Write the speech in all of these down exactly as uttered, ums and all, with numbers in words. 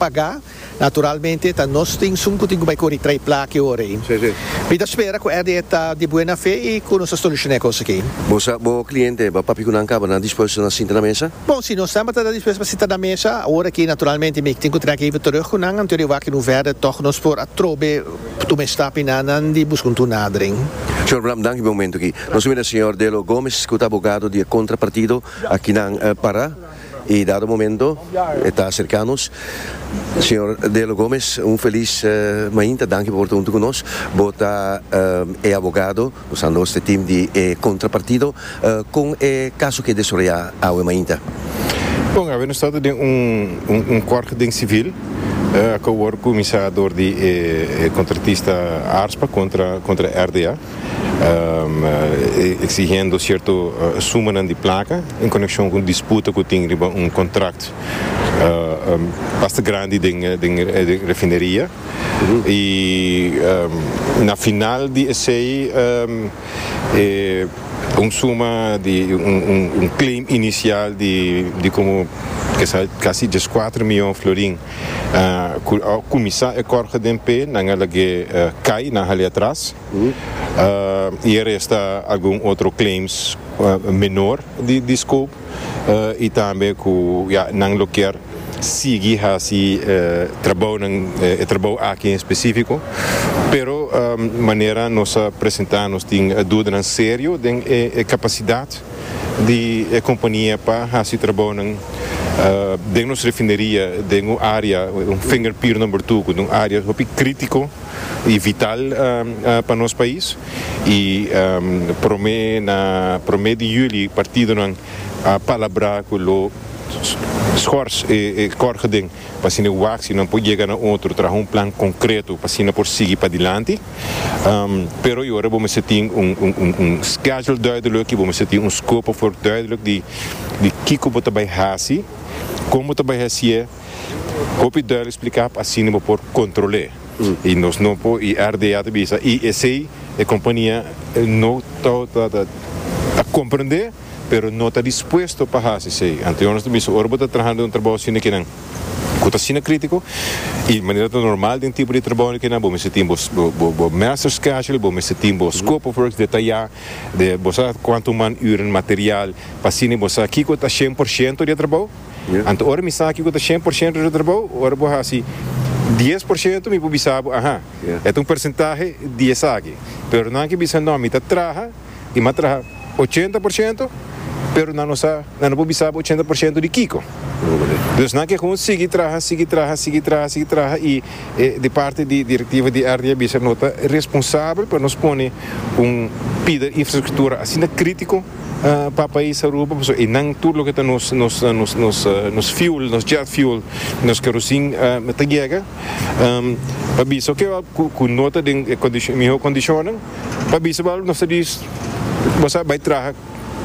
Paga, naturalmente, ta nos tin esun cu tin cu bay core traha placa ora. Si, si. Mi ta spera cu R D A ta di buena fe y cu nos soluciona e cos aki. Bo, bo cliente, bo a papia cu nan caba, nan dispuesto na sinta na mesa? Bom, si nos estamos dispuesto pa sinta na mesa, awor aki naturalmente mi tin cu trek even terug cu nan, anto wak in hoeverre toch nos por atrobe tuma stap nan di busca un toenadering. Señor Bram, danki pa e momento aki. Nos a señor Delo Gomes, cu ta abogado di contrapartido aki na uh, Pará. Y dado momento, ta acerca nos. Señor Delo Gomes, un feliz uh, mainta, danki pa ta hunto cu nos. Bo ta uh, e abogado, usando e team di eh, contrapartido, uh, cu e caso cu a desaroya awe mainta. Bon, nos ta den un, un, un kort geding civil uh, cu a wordo cuminsa door di eh, contratista ARSPA contra, contra R D A, um, uh, exigiendo cierto uh, suma di placa en conexion cu disputa cu tin riba un contract uh, um, basta grandi di, di, di refineria. Uhum. Y um, na final di esey um, eh, un suma di un, un, un claim inicial di, di como casi diescuater miyon florin uh, cuminsa e kort geding pe nan a lag'e uh, cay, nan a hal'e atras uh, y resta algun otro claims uh, menor di, di scope uh, y tambe cu ja, nan lo kier sigui asina uh, trabou uh, trabou aki en especifico, pero um, manera nos a presenta, nos tin duda serio di e, capacidad di e compania pa haci trabou uh, den nos refineria, den un area, un finger pier number two, un area hopi critico y vital uh, uh, pa nos pais. Y um, prome na prome di juli partidonan a palabra cu lo schors e, e kort geding pa asina wak si nan por yega na otro, traha un plan concreto pa asina por sigui pa dilanti. Um, pero awor bo mester tin un, un, un, un schedule duidelijk, bo mester tin un scope of work duidelijk di di kico bo ta bay hasi, con bo ta bay hasi, hopi duidelijk splica pa asina bo por controla. Mm. Y nos no por y R D A ta bisa y esey e compania no ta ta ta comprende, pero no ta dispuesto pa haci esey. Anto, nos tambe, ora bo ta trahando un trabou asina cu nan cu ta asina critico y manera normal di tipo di trabou cu nan, bo mester tin bo bo master schedule, bo mester tin bo scope of works detaya, di bo sa cuanto man uren, material, pa asina bo sa kico ta cien por ciento di trabou. Anto, ora mi sa kico ta cien por ciento di trabou, ora bo hasi dies por ciento, mi por bisa, aha, e un porcentahe di esaki. Pero nan ke bisa no, mi ta traha y m'a traha ochenta por ciento, pero nan no sa, nan no por bisa ochenta por ciento di kico. Dus nan ke gewoon sigui traha, sigui traha, sigui traha, sigui traha y eh, di parti di directiva di R D A bisa no ta responsabel pa nos pone un pida infrastructura asina critico uh, pa pais Aruba, y nan tur loke ta nos nos nos nos nos fuel, nos jet fuel, nos kerosene uh, ta yega. Um, pa bisa cu cu no ta den condicion, miho condicion, pa bisa nos diz, bo bay traha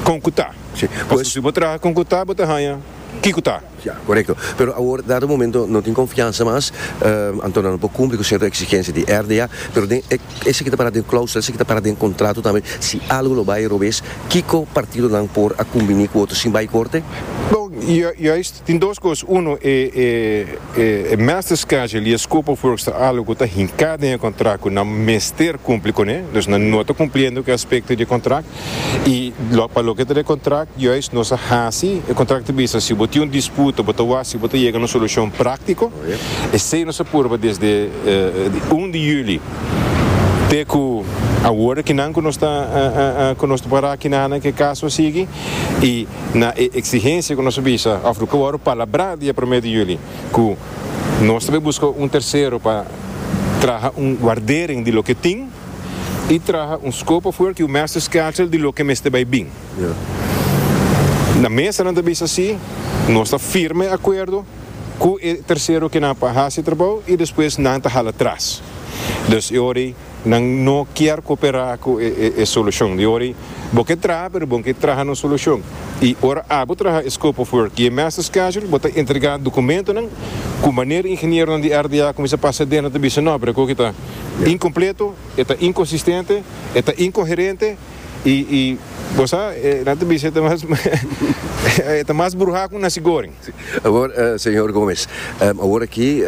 con cu ta. Si. Pues, si bo traha con cu ta, bo ta haya kico ta. Ja, correcto. Pero awor, dado momento, no tin confiansa mas, uh, anto no por cumpli cu cierto exigencia di R D A, pero den, esaki ta para den clausula, esaki ta para den contrato tambe, si algo lo bay robes, kico partidonan por a combina cu otro sin bay corte? Bon, juist, tin dos cos. Uno, e, e, e, e master schedule y scope of works ta algo cu ta hinca den contrato, nan mester cumpli cu ne, dus nan no ta cumpliendo cu aspecto di contrato. Y lo, pa loke ta e contrato, juist nos a hasi, e contrato bisa, si bo tin un disputa, bo ta wak, bo ta yega na un solucion practico. Oh, yeah. Esey nos a purba desde uh, un di juli te cu awor cu nan cu nos ta uh, uh, cu nos ta para aki na cu caso sigui y na exigencia cu nos a bisa of cu a palabra dia prome di juli cu nos tambe busca un tercero pa traha un waardering di loke tin y traha un scope of work y un master schedule di loke mester bay bin. Yeah. Na mesa nan bisa asina, nos ta firma acuerdo cu e tercero cu nan pa haci trabou y despues nan ta hala atras. Dus awor nan no kier coopera cu e, e, e solucion. Di ori, bo kier traha, pero bo kier traha na solucion. Y ora abo traha scope of work y master schedule, bo ta entrega documentonan, cu manera ingenieronan di R D A cuminsa pasa den ta bisa no, pero cu ta incompleto, ta inconsistente, ta incoherente y, y Bo sa, nan ta bisa, mas ta mas bruha ku nasi goreng. Awor, uh, señor Gomes, um, awor aki